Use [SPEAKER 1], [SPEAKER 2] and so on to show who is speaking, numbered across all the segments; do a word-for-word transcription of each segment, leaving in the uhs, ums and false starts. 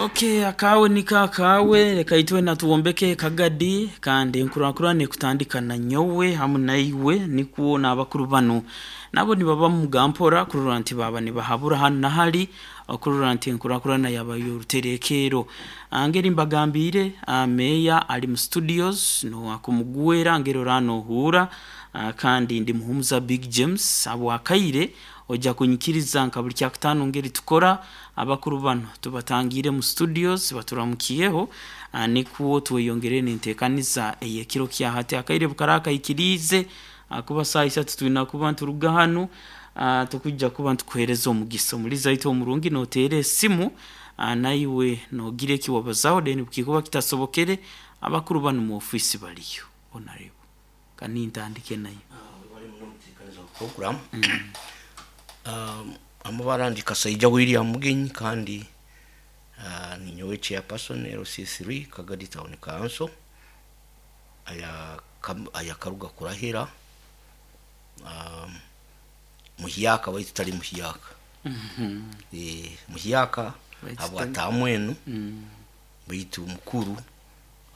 [SPEAKER 1] Okay, akawe niko akawe, reka itwe natuwombeke Kagadi, kandi enkurakurana ekutandika na nyowe hamu naiwe, nikwo n'abakuru banu nabo nibaba mugampora kurora nti baba nibahabura hanu na hali okurora nti enkurakurana yaba y'oruterekero. Ngeri mbagambire, meya ali mu studios no akumugwera ngeri oranohura, kandi ndi Muhumuza Big James abwakaire ojja kunyikiriza nka buli kyakutaano ngeri tukora. Abakuru bano tubatangire mu studios baturamukiyeho, nikwo tweyongere n'enteekaniza ey'ekiro kya hati. Akaire bukara kaikiriize kuba saa isatu twina kuba nturuga hanu, tukujja kuba ntukuheereza omugisa omuliza waitu omurungi noteera esimu naiwe nogira eki wabazaho, then bukikuba kitasobokere abakuru banu mu ofiisi baliyo. Honorable, kanintandike nayo.
[SPEAKER 2] Program um, amabara ndi Kasaija William Mugenyi, kandi uh, ninyowe chairperson L C three Kagadi Town Council aya kam, aya karuga kurahira um, muhiyaka waitu tali muhiyaka.
[SPEAKER 1] Mm -hmm.
[SPEAKER 2] E, muhiyaka habwa tamwenu
[SPEAKER 1] mm.
[SPEAKER 2] Baitu mukuru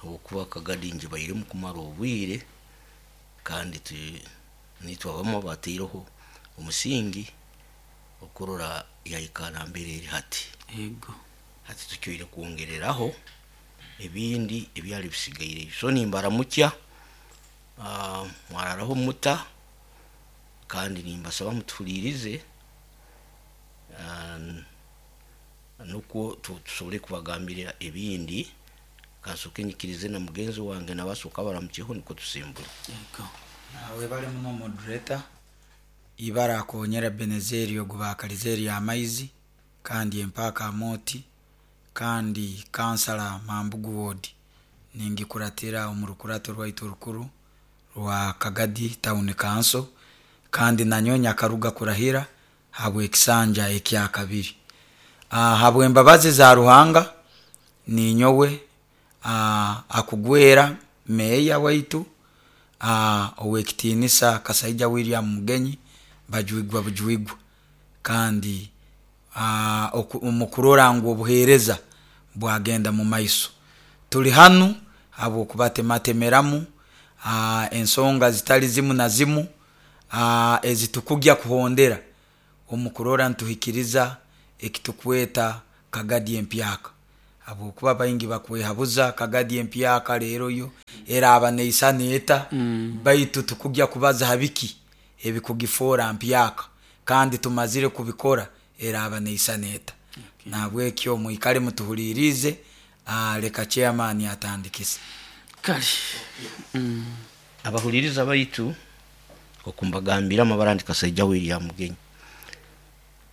[SPEAKER 2] habwokuba Kagadi nje bairemu kumara obwire, kandi tu nitwe abamu bateireho omusingi okurora yaikara mbere eri hati.
[SPEAKER 1] Yego.
[SPEAKER 2] Hati tukyoire kwongereraho ebindi ebyali bisigaire. So nimbaramukya, uh, mwararaho muta, kandi nimbasaba mutuhulirize, uh, nukwo tusobole kubagambira ebindi. Kansoke nyikirize na mugenzi wange nabasoka baramukyeho niko tusimbule.
[SPEAKER 1] Yego.
[SPEAKER 3] Nawe bali muno moderator ibara akonyera Benezeri ogubakalizeri amaizi, kandi empaka amoti, kandi kansala Mambugu Ward ningikuratira omurukurato rwaitu rukuru rwa Kagadi Town Council, kandi nanyonya karuga kurahira habwekisanja ekya kabiri. Ah, habwembabazi za Ruhanga ninyowe ah, akugwera meya waitu ah, owekitinisa Kasaija William Mugenyi bajwigwa bujwigwa, kandi ah, omukurora ngu obuheereza bwagenda mu maiso. Tuli hanu habwokubatematemeramu ah, ensonga zitali zimu na zimu ah, ezitukugya kuhondera omukurora ntuhikiriza ekitukweta Kagadi empyaka, habwokuba baingi bakwehabuza Kagadi empyaka leero yo eraba neisana eta,
[SPEAKER 1] mm.
[SPEAKER 3] Baitu tukugya kubaza habiki ebikugifoora mpyaka, kandi tumazire kubikora eraba neisana eta.
[SPEAKER 1] Okay.
[SPEAKER 3] Nabwekyo mwikale mutuhulirize, leka chairman atandikise.
[SPEAKER 1] Kale. Mm.
[SPEAKER 2] Abahuliriza baitu okumbagambira amabara ndi Kasaija William Mugenyi.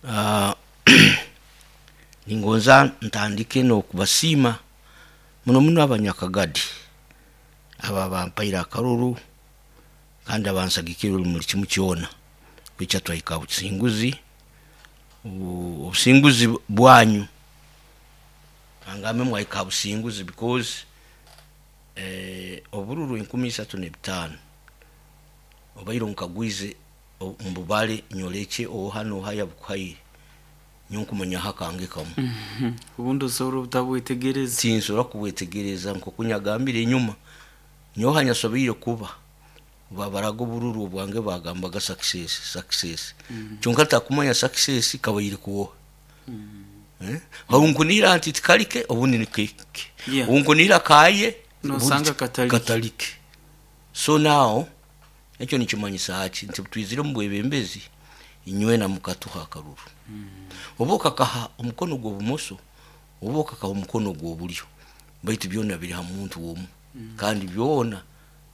[SPEAKER 2] Uh, ningonza ntandike n'okubasiima muno muno abanyakagadi aba bampaire akaruru kandi abansagikire buli kimu kyona kwica twahika businguzi obusinguzi bwanyu angambe mwahika businguzi because eh, obururu enkumi isatu n'ebitaano obaire nkagwize mbubale nyoleke oha noha yabukuhaire nyokumanya hakange kamu.
[SPEAKER 1] Mm -hmm. Ubundi usobora obutabwetegereza.
[SPEAKER 2] Tinsobora kubwetegereza nkokunyagambire enyuma nyoha nyasobeire kuba babaraga obururu obwange bagambaga success success.
[SPEAKER 1] Mm -hmm.
[SPEAKER 2] Kyonka takumanya success kabaire kuwoha.
[SPEAKER 1] Mm -hmm.
[SPEAKER 2] Eh? Hunkunira nti tikalike obundi nikeke.
[SPEAKER 1] Yeah.
[SPEAKER 2] Hunkunira kaye
[SPEAKER 1] nosanga katalike.
[SPEAKER 2] Katalike. So now ekyo nikimanyisa ki nti twizire mu bwebembezi inywena mukatuha akaruru.
[SPEAKER 1] Mm.
[SPEAKER 2] Oba okakaha omukono gw'obumoso oba okakaha omukono gw'obulyo, baitu byona biri ha muntu omu.
[SPEAKER 1] Mm.
[SPEAKER 2] Kandi byona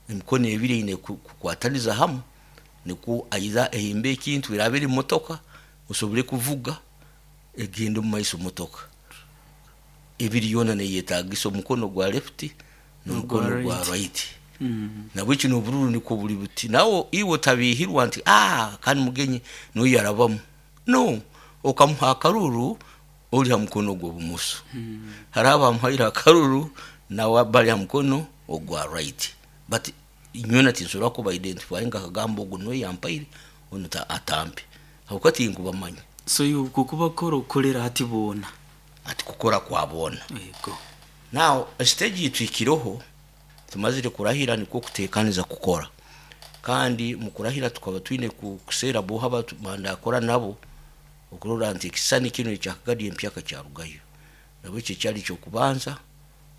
[SPEAKER 2] emikono ebiri eine kukwataniza hamu nikwo aiza ehimba ekintu eraba eri motoka osobole kuvuga egende omu maiso motoka ebiri yona neyetagisa omukono gwa left n'omukono gwa right.
[SPEAKER 1] Mm.
[SPEAKER 2] Nabweki n'obururu nikwo buli buti nawe iwe otabihirwa nti ah kandi Mugenyi n'oyo yarabamu no okamuha akaruru ori ha mukono gw'obumoso.
[SPEAKER 1] Mm.
[SPEAKER 2] Hariho abamuhaire akaruru nawe bari ha mukono ogwa right, but nywena tinsobora kuba identify nkakagamba ogu niwe yampaire onu atampe habwokuba tinkubamanya.
[SPEAKER 1] So iwe kukuba kora okolera hati boona
[SPEAKER 2] Ati kukora kwa boona.
[SPEAKER 1] Yego.
[SPEAKER 2] Now stage itwikiroho tumazire kurahira nikwo kutekaniza kukora, kandi mu kurahira tukaba twine ku- kuseera boha bandakora nabo okurora nti ekisani kino ekyakagadi empyaka kyarugayo. Nabwo ekyo kyali kyokubanza,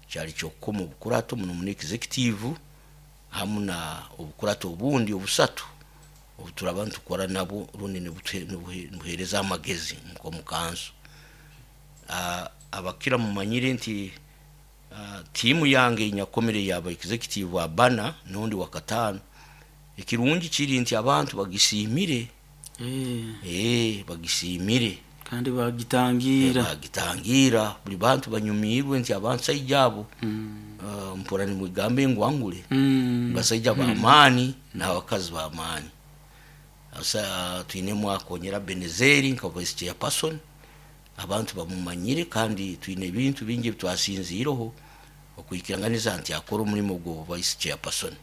[SPEAKER 2] kyali kyokukoma obukurato muno muno executive hamu na obukurato obundi obusatu obuturaba nitukora nabo rundi nibutuhe- nibuhe- nibuhereza amagezi nk'omu kanso. Ah, abakira mumanyire nti ah, tiimu yange nyakomere yaba executive abana n'ondi wa kataano. Ekirungi kiri nti abantu bagisiimire.
[SPEAKER 1] Eh,
[SPEAKER 2] eh bagisiimire
[SPEAKER 1] kandi bagitangira.
[SPEAKER 2] Bagitangira buli bantu banyumirwe nti abansaija abo
[SPEAKER 1] Mm.
[SPEAKER 2] ah, mpora nimwigambe ngwangule
[SPEAKER 1] Mm.
[SPEAKER 2] basaija b'amaani n'abakazi b'amaani. Asa twinemu akonyera Benezeri nka vice chairperson, abantu bamumanyire, kandi twine ebintu bingi ebitwasinziireho okwikiranganiza nti akora omulimu gwo vice chairperson.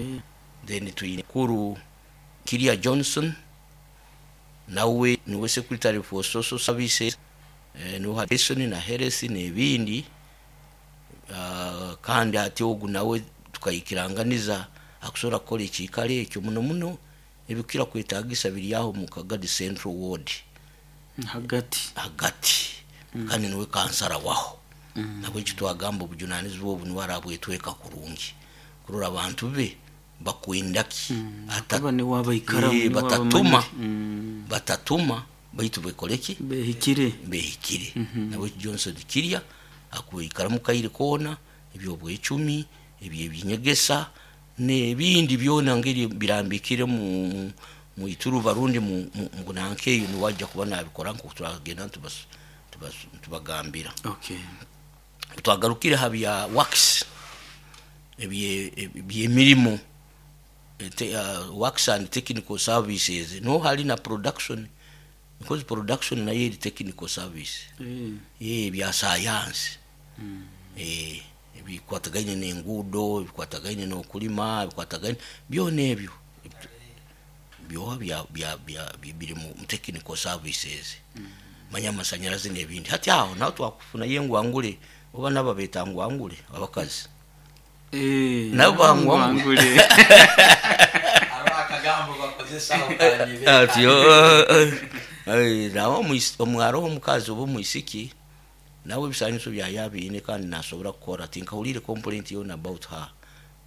[SPEAKER 1] Eh,
[SPEAKER 2] Then twine kuru Kiria Johnson, nawe niwe secretary for social services, eh, niwe Harrison na Health n'ebindi. uh, kandi ati ogu nawe tukayikiranganiza akusobola kukola ekiikaro ekyo muno muno ebikira kwetagisa biri aho mu Kagadi Central Ward
[SPEAKER 1] hagati.
[SPEAKER 2] Hagati mm. Kandi niwe kansara waho mm. Nabwo ekyo twagamba obujunanizibwa obu niwe arabwetweka kurungi kurora abantu be bakwendaki mm. Ata-
[SPEAKER 1] Aba niwe abaikaramu,
[SPEAKER 2] Eh,
[SPEAKER 1] niwe
[SPEAKER 2] batatuma.
[SPEAKER 1] abamanyire. Mm.
[SPEAKER 2] Batatuma baitu bekoleki
[SPEAKER 1] behikire.
[SPEAKER 2] Behikire. Nabwe Johnson kirya akuikaramu kaire koona ebyobwecumi ebyebinyegesa n'ebindi byona ngeri birambikire mu mu ituruba rundi mu mu- mu nankeyo niwajja kuba nabikora nko turagenda tubas- tubas- tubagambira.
[SPEAKER 1] Okay.
[SPEAKER 2] Twagarukire ha bya works, ebye ebyemirimo, te, uh, works and technical services, no hali na production, because production nayo eri technical service.
[SPEAKER 1] Eh,
[SPEAKER 2] eh bya science eh ebikwatagaine n'enguudo, ebikwatagaine n'okulima, ebikwatagaine byona ebyo byoba bya bya bya bi- biri mu mu technical services, manya amasanyalaze n'ebindi. Hati aho naho twakufunayo engwangule oba nabo beeta ngwangule abakazi.
[SPEAKER 1] Eh,
[SPEAKER 2] Nabo bangwangule.
[SPEAKER 1] bangwangule.
[SPEAKER 3] Hariho akagambo bakozesa aho.
[SPEAKER 2] Ati "Oh, eh, eh, nawe omwis- omwaro omukazi oba omwisiki nawe ebisaniso byaye abiine kandi nasobora kukora, tinkahulire complaint yona about her.